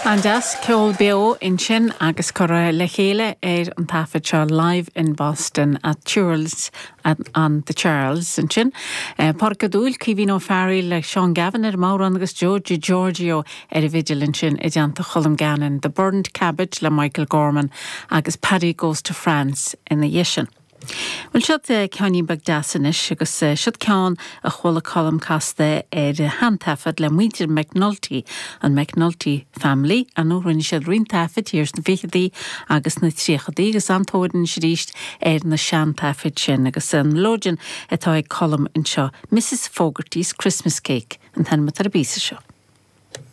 An-deas, ceol beo ansin agus curtha le chéile ar an taifead seo Live in Boston at Tyrrell's on the Charles ansin. Pádraic Ó Dúill, Caoimhín Ó Fearghaíl le Seán Gavin ar an mbodhrán agus Joe DiGiorgio ar an bhfidil ansin i dteannta Cholm Gannon, The Burnt Cabbage le Michael Gorman agus Paddy Goes to France ina dhiaidh sin. Bhuel, siod ceainnín beag deas anois agus siod ceann a chuala Colm casta ar sheantaifead le muintir McNulty, an McNulty Family. Ar ndóigh, rinne siad roinnt taifid thiar sna ficheadaí agus sna tríochadaí agus an-tóir anois arís ar na seantaifid sin agus an mileoidean atá ag Colm anseo, Mrs Fogarty's Christmas Cake an t-ainm atá ar an bpíosa seo.